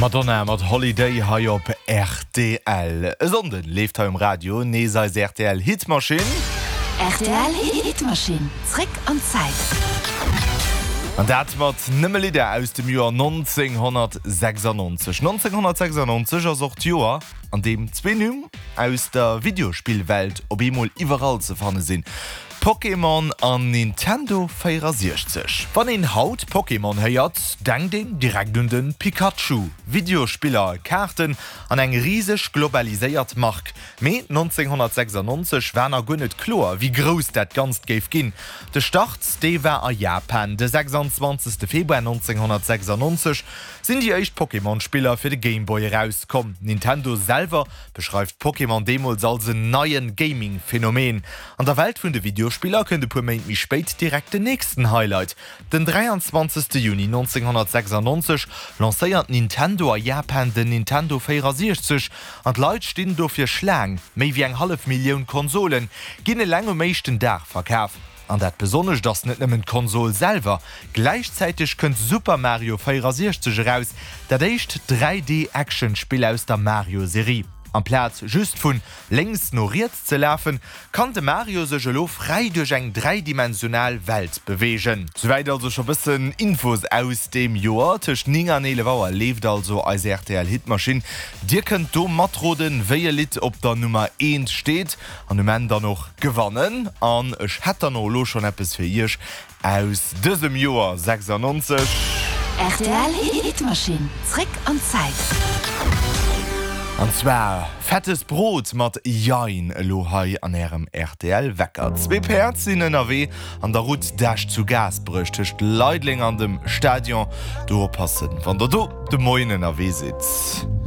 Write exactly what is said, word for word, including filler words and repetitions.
Madonna mat Holiday hei op rtl. E Sonnden leeft hei um Radio nees eis rtl Hitmaschinn. Rtl Hitmaschinn, zréck an d'Zäit. An dat mat nëmme Lidder aus dem Joer nonzénghonnertsechsannonzeg. Nonzénghonnertsechsannonzeg ass och d'Joer, an deem zwee Nimm aus der Videospillwelt op eemol iwwerall ze fanne sinn, Pokémon an Nintendo véierasiechzeg. Wann een haut Pokémon héiert, denkt een direkt un de Pikachu. Videospiller, Kaarten an eng riseg globaliséiert Mark. Mee nonzénghonnertsechsannonzeg war nach guer net kloer, wéi grouss dat Ganzt géif ginn. De Start, dee war a Japan. De sechsanzwanzegste Februar nonzénghonnertsechsannonzeg sinn déi éischt Pokémon-Spiller fir de Game Boy erauskomm. Nintendo selwer beschreift Pokémon deemools als en neie Gaming-Phänomen. An der Welt vun de Videospiller kënnt e puer Méint méi spéit direkt den nächsten Highlight. Den dräianzwanzegste Juni nonzénghonnertsechsannonzeg lancéiert Nintendo a Japan den Nintendo véierasiechzeg an d'Leit stinn dofir Schlaang. Méi wéi eng hallef Millioun Konsole ginn eleng um éischten Dag verkaf. An dat Besonnescht ass net nëmmen d'Konsol selwer, gläichzäiteg kënnt Super Mario véierasiechzeg eraus, dat éischt dräi D-Action-Spill aus der Mario-Serie. Amplaz just vun lénks no riets ze lafen, kann de Mario sech elo fräi duerch eng dräidimensional Welt beweegen. Souwäit also scho bëssen Infos aus deem Joer. Tëscht néng an eelef Auer leeft also eis rtl Hitmaschinn. Dir kënnt do matroden, wéi e Lidd op der Nummer eent steet an um Enn dann och gewannen. An ech hätt dann och elo schonn eppes fir iech aus dësem Joer sechsannonzeg. Rtl Hitmaschinn, zréck an d'Zäit. An zwar Fettes Brot mat Jein elo hei an ärem rtl Wecker. Zwee Päerd sinn ënnerwee an der Route d'Esch zu Gaasperech tëscht Leideleng an dem Stadion. Do oppassen wann der do de Moien ënnerwee sidd.